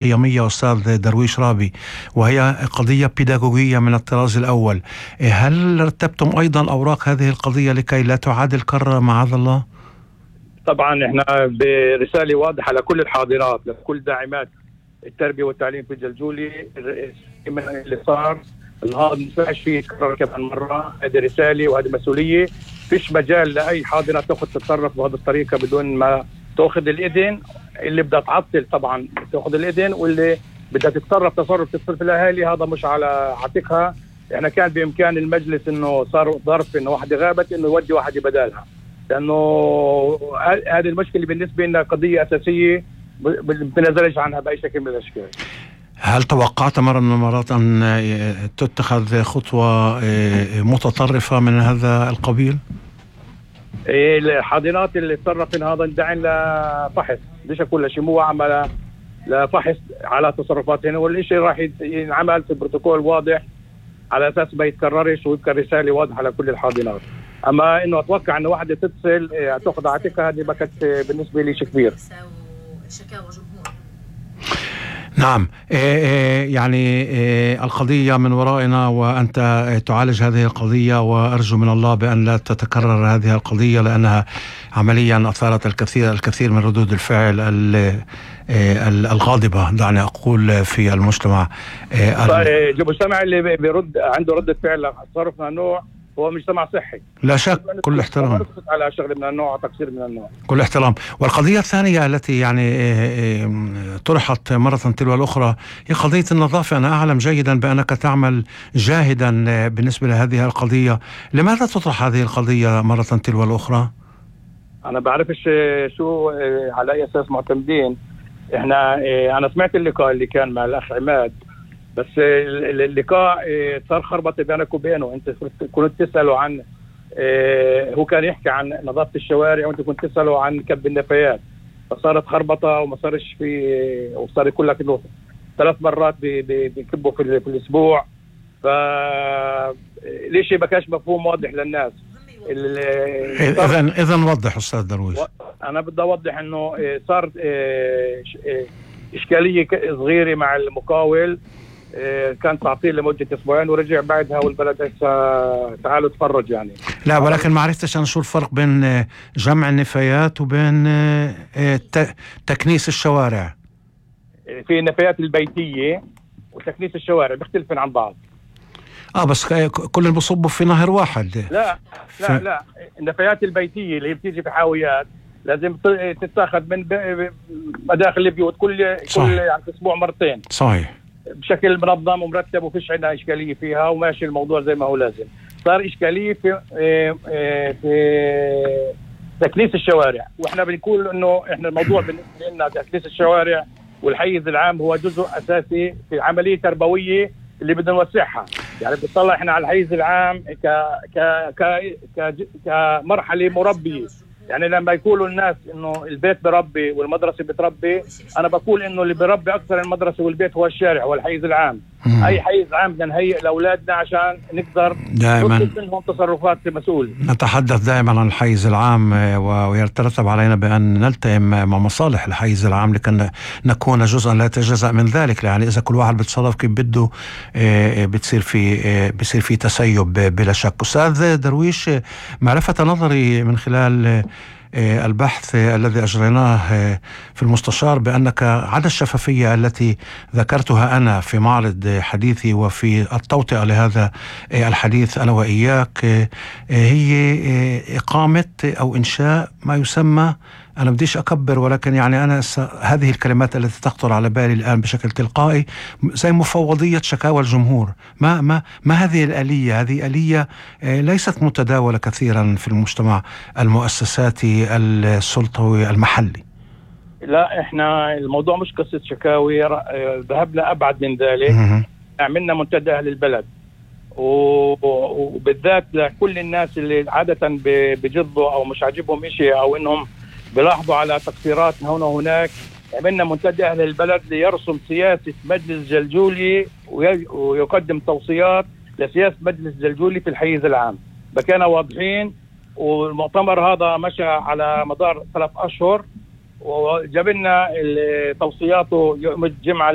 قيمية أستاذ درويش رابي، وهي قضية بيداغوجية من الطراز الأول. هل رتبتم أيضا أوراق هذه القضية لكي لا تعاد الكرة معاذ الله؟ طبعا احنا برسالة واضحة لكل الحاضرات، لكل داعمات التربية والتعليم في الجلجولي، من اللي صار النهارده ما ينفعش فيه يتكرر كمان مرة. هذه رسالة وهذه مسؤولية. فيش مجال لأي حاضرة تتصرف بهذه الطريقة بدون ما تأخذ الإذن. اللي بدها تعطل طبعا تأخذ الإذن، واللي بدها تتصرف تصرف الأهالي هذا مش على عاتقها. احنا كان بإمكان المجلس إنه صار ظرف إنه واحدة غابت إنه يودي واحدة بدالها، لأنه هذه المشكلة بالنسبة لنا قضية أساسية بنزلش عنها بأي شكل من الأشكال. هل توقعت مرة من المرات أن تتخذ خطوة متطرفة من هذا القبيل؟ الحاضنات اللي تصرفن هذا ندعين لفحص، ليش كل شيء مو عمل لفحص على تصرفاتهن، والشيء راح ينعمل في بروتوكول واضح على أساس ما يتكررش، ويبقى رسالة واضحة لكل الحاضنات. أما إنه أتوقع إنه واحدة تتصل تأخذ عاتقها، هذه ما كانت بالنسبة لي شيء كبير. نعم. يعني القضية من ورائنا، وأنت تعالج هذه القضية، وأرجو من الله بأن لا تتكرر هذه القضية، لأنها عمليا أثارت الكثير من ردود الفعل الغاضبة، دعني أقول، في المجتمع. المجتمع اللي بيرد عنده ردة فعل تصرف من النوع هو مجتمع صحي، لا شك. كل احترام على شغل من النوع وتقصير من النوع، كل احترام. والقضية الثانية التي يعني طرحت مرة تلو الأخرى هي قضية النظافة. أنا أعلم جيدا بأنك تعمل جاهدا بالنسبة لهذه القضية. لماذا تطرح هذه القضية مرة تلو الأخرى؟ أنا بعرفش شو على أي أساس معتمدين. أنا سمعت اللقاء اللي كان مع الأخ عماد، بس اللقاء صار خربطة بينك وبينه. انت كنت تسأله عن هو كان يحكي عن نظافة الشوارع، وانت كنت تسأله عن كب النفايات، فصارت خربطة وما صارش في، وصار يقول لك انه 3 مرات بيكبوا في الاسبوع. ليش ما كانش مفهوم واضح للناس؟ اذا وضح استاذ درويش. انا بدي اوضح انه صار اشكالية صغيرة مع المقاول، كان تعطيل لمدة 2 أسبوع ورجع بعدها، والبلد هسه تعالوا تفرج يعني. لا، ولكن ما عرفتش أنا شو الفرق بين جمع النفايات وبين تكنيس الشوارع. في النفايات البيتية وتكنيس الشوارع بيختلفن عن بعض. بس كل بصبوا في نهر واحد. لا النفايات البيتية اللي بتيجي في حاويات لازم تتاخذ من مداخل البيوت كل يعني أسبوع مرتين. صحيح. بشكل منظم ومرتب، وفيش عندنا إشكالية فيها، وماشي الموضوع زي ما هو لازم. صار إشكالية في تكنيس الشوارع، وإحنا بنقول إنه إحنا الموضوع بالنسبة لنا تكنيس الشوارع والحيز العام هو جزء أساسي في عملية تربوية اللي بدنا نوسعها. يعني بنطلع إحنا على الحيز العام كمرحلة مربية. يعني لما يقولوا الناس انه البيت بربي والمدرسة بتربي، انا بقول انه اللي بربي اكثر المدرسة والبيت هو الشارع والحيز العام. اي حيز عام بدنا نهيئ لاولادنا عشان نقدر نطلب منهم تصرفات مسؤولة. نتحدث دائما عن الحيز العام، ويترتب علينا بان نلتئم مع مصالح الحيز العام لكي نكون جزءا لا يتجزأ من ذلك. يعني اذا كل واحد بيتصرف كيف بده بتصير في تسيب بلا شك. استاذ درويش، ما لفت نظري من خلال البحث الذي أجريناه في المستشار بأنك عدا الشفافية التي ذكرتها أنا في معرض حديثي وفي التوطئة لهذا الحديث أنا وإياك، هي إقامة أو إنشاء ما يسمى، أنا بديش أكبر، ولكن يعني أنا هذه الكلمات التي تخطر على بالي الآن بشكل تلقائي زي مفوضية شكاوى الجمهور. ما هذه الآلية؟ هذه آلية ليست متداولة كثيرا في المجتمع المؤسساتي السلطوي المحلي. لا، إحنا الموضوع مش قصة شكاوي، ذهبنا أبعد من ذلك. عملنا منتدى أهل البلد، وبالذات لكل الناس اللي عادة بجضوا أو مش عاجبهم إشي أو إنهم بلاحظوا على تقصيرات هنا وهناك. عملنا منتدى أهل البلد ليرسم سياسة مجلس جلجولي ويقدم توصيات لسياسة مجلس جلجولي في الحيز العام. بكينا واضحين، والمؤتمر هذا مشى على مدار 3 أشهر، وجاب لنا توصياته يوم الجمعه